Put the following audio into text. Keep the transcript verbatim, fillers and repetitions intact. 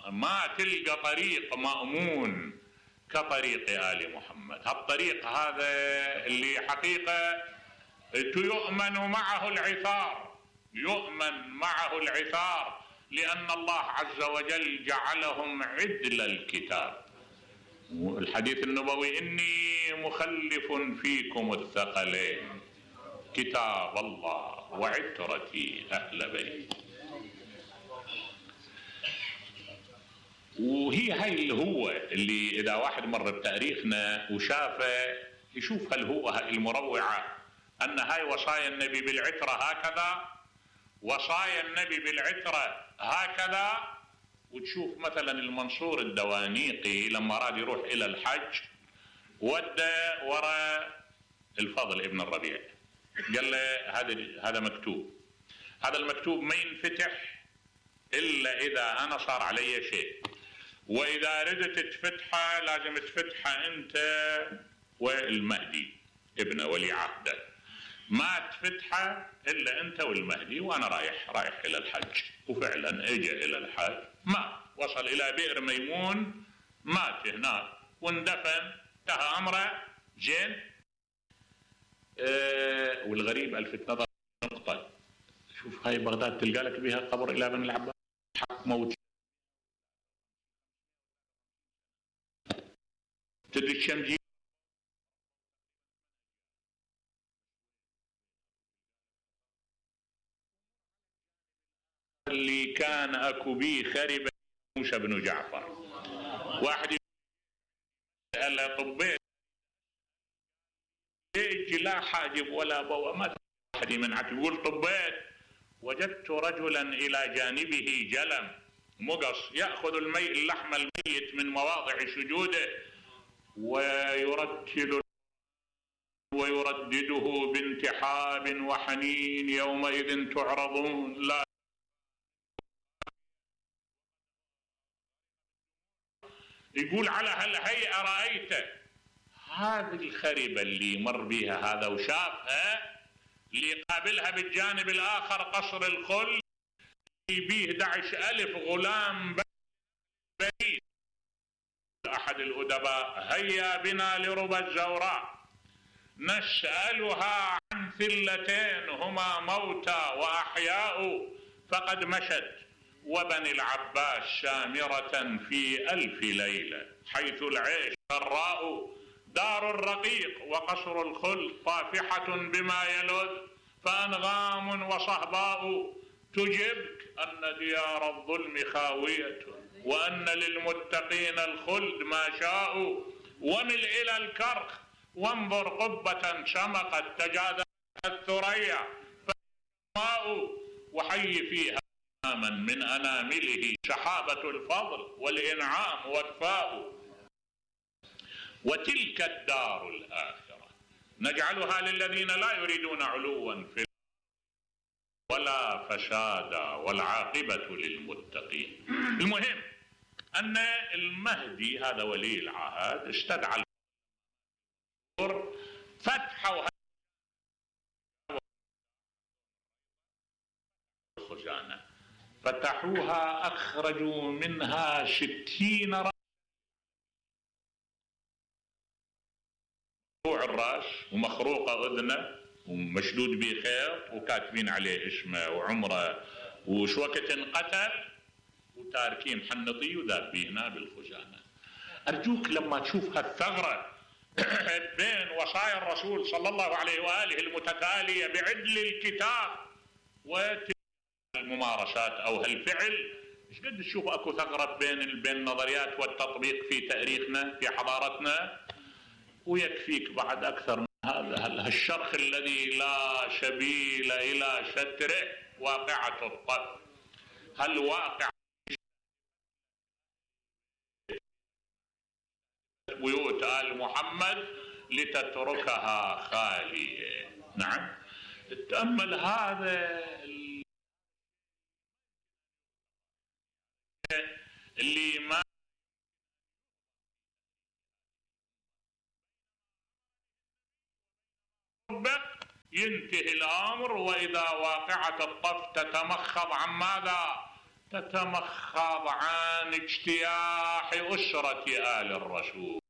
ما تلقى طريق مأمون كطريق آل محمد. هالطريق هذا اللي حقيقة يؤمن معه العثار، يؤمن معه العثار، لأن الله عز وجل جعلهم عدل الكتاب. الحديث النبوي: إني مخلف فيكم الثقلين كتاب الله وعترتي أهل بيت. وهي هاي اللي هو اللي إذا واحد مر بتاريخنا وشافه يشوف هل هو هاي المروعة، أن هاي وصايا النبي بالعترة هكذا، وصايا النبي بالعترة هكذا. وتشوف مثلا المنصور الدوانيقي لما راد يروح إلى الحج ودى وراء الفضل ابن الربيع، قال له هذا هذا مكتوب، هذا المكتوب ما ينفتح إلا إذا أنا صار علي شيء، وإذا ردت تفتحه لازم تفتحه أنت والمهدي ابن ولي عهده، ما تفتحه إلا أنت والمهدي وأنا رايح رايح إلى الحج. وفعلا اجى إلى الحج، مات، وصل إلى بئر ميمون، مات هناك واندفن، انتهى أمره. زين. أه والغريب ألفت نظر نقطة، شوف هاي بغداد تلقى لك بها قبر إلى بن العباس، حق موت. تدري الشمجي اللي كان اكو بيه خرب موسى بن جعفر، واحد قال له طبيت لا حاجب ولا بوا، ما واحد من عتب يقول طبيت وجدت رجلا الى جانبه جلم مقص ياخذ المي اللحم الميت من مواضع سجوده ويرتل ويردده بانتحاب وحنين: يومئذ تعرضون لا. يقول على هالهيئة رأيته هذه الخربة اللي مر بها هذا وشافها، اللي قابلها بالجانب الآخر قصر الخل بيه أحد عشر ألف غلام بريد. أحد الأدباء: هيا بنا لربى الزوراء نسألها عن ثلتين هما موتى وأحياء فقد مشت، وبني العباس سامرة في ألف ليلة، حيث العيش سراء دار الرقيق وقصر الخلد طافحة بما يلذ، فأنغام وصهباء تجبك أن ديار الظلم خاوية وأن للمتقين الخلد ما شاءوا، ومل إلى الكرخ وانظر قبة شمقت تجاذبت الثريا فماء، وحي فيها من أنامله سحابة الفضل والإنعام وكفاء. وتلك الدار الآخرة نجعلها للذين لا يريدون علوا في ولا فسادا والعاقبة للمتقين. المهم أن المهدي هذا ولي العهد استدعى فتحوا الخزانة، فتحوها أخرجوا منها ستين رأس مقطوع الرأس ومخروقة أذنه ومشدود بخيط وكاتبين عليه اسمه وعمره وش وقت انقتل، وتاركين حنطي وذابينه بالخزانة. أرجوك لما تشوف هالثغرة بين وصايا الرسول صلى الله عليه وآله المتتالية بعدل الكتاب والممارسات أو هالفعل، ايش قد تشوف اكو ثغرة بين بين النظريات والتطبيق في تاريخنا في حضارتنا. ويكفيك بعد أكثر من هذا هالشرخ الذي لا سبيل إلى ستره واقعة الطف. هالواقع بيوت آل محمد لتتركها خالية. نعم، تأمل هذا اللي ما ينتهي الأمر وإذا واقعة الطف تتمخض عن ماذا؟ تتمخض عن اجتياح أسرة آل الرسول.